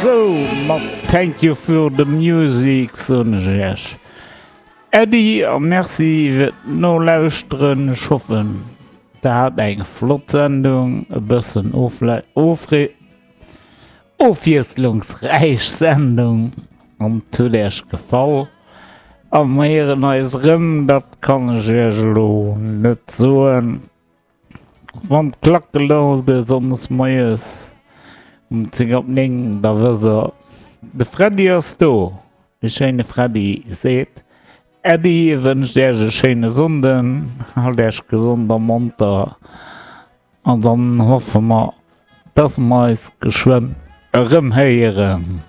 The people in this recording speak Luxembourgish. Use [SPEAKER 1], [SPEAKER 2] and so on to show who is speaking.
[SPEAKER 1] Sou, mat Thank you for the music soen ech iech Äddi a Merci fir d'Nolauschteren. Ech hoffen der hat eng flott Sendung, e bëssen ofwiesslungsräich Sendung an et huet iech gefall. A mer héieren eis erëm, dat kann ech iech elo net soen. Wann d'Klack geläut huet sonndes moies um 10 op 9, da wësst der, de Freddy ass do. De schéine Freddy seet Äddi, wënscht Äech e schéine Sonnden, halt Äech gesond a monter an dann hoffe mer, dass mer eis geschwënn erëm héieren.